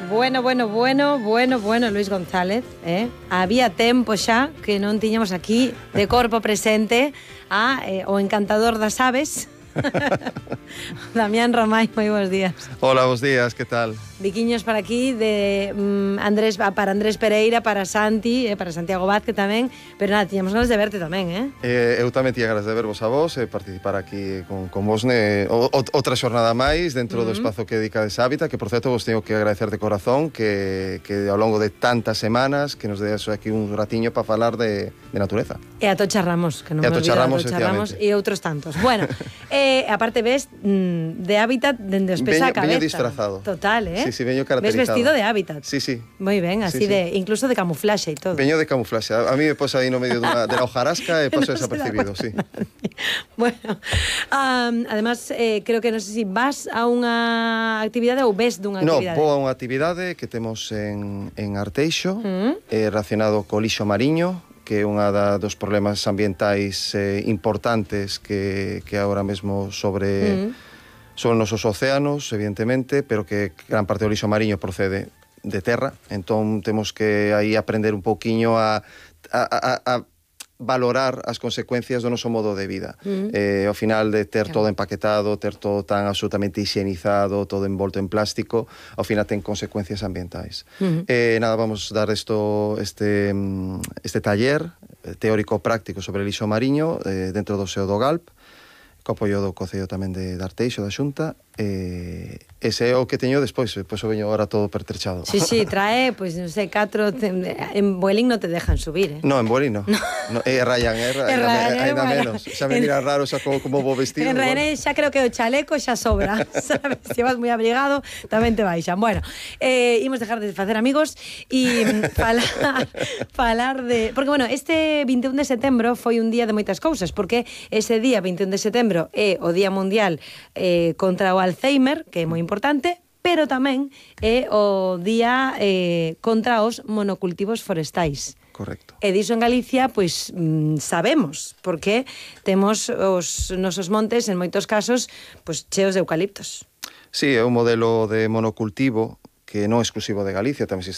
Bueno, Luis González, había tempo xa que non tiñamos aquí de corpo presente o encantador das aves. Damián Romay, moi bons días. Hola, bons días, que tal? Biquiños para aquí de para Andrés Pereira, para Santi, para Santiago Vázquez tamén, pero nada, tiñamos ganas de verte tamén, Eu tamén tiña ganas de vervos a vos e participar aquí con vos outra xornada máis dentro do espazo que dedicades a Hábitat, que por certo vos teño que agradecer de corazón que ao longo de tantas semanas que nos deas aquí un ratiño para falar de natureza. E atocharramos, que non me olvido, atocharramos e outros tantos. Bueno, aparte ves de Hábitat dende os pés á cabeza. Veño disfrazado. Total, Sí, veño caracterizado. Ves vestido de Hábitat. Sí. Moi ben, así sí. incluso de camuflaxe e todo. Veño de camuflaxe. A mí me posa aí no medio de la hojarasca e paso desapercibido, sí. Bueno, además, creo que non sei se vas a unha actividade ou ves dunha actividade. No, vou a unha actividade que temos en Arteixo, relacionado co lixo mariño, que é unha dos problemas ambientais importantes que agora mesmo sobre os nosos océanos, evidentemente, pero que gran parte do lixo mariño procede de terra, entón temos que aí aprender un pouquiño a valorar as consecuencias do noso modo de vida. Ao final de ter todo empaquetado, ter todo tan absolutamente higienizado, todo envolto en plástico, ao final ten consecuencias ambientais. Nada, vamos dar este taller teórico-práctico sobre lixo mariño dentro do SEO do GALP, co apoio do Concello tamén de Arteixo, da Xunta, ese é o que teño despois o veño ahora todo pertrechado. Sí, trae, pois, non sei, 4, en Vueling non te dejan subir, No, en Vueling no. É Ryanair, ainda menos. Xa me mira raro xa como vou vestido. En Ryanair xa creo que o chaleco xa sobra, sabes? Se vas moi abrigado, tamén te baixan. Bueno, imos dejar de facer amigos e falar de... Porque, bueno, este 21 de setembro foi un día de moitas cousas, porque ese día, 21 de setembro, é o Día Mundial contra o Alzheimer, que é moi importante, pero tamén é o día contra os monocultivos forestais. Correcto. E diso en Galicia, pois, sabemos, porque temos os nosos montes, en moitos casos, pois, cheos de eucaliptos. Sí, é un modelo de monocultivo que non é exclusivo de Galicia, tamén existe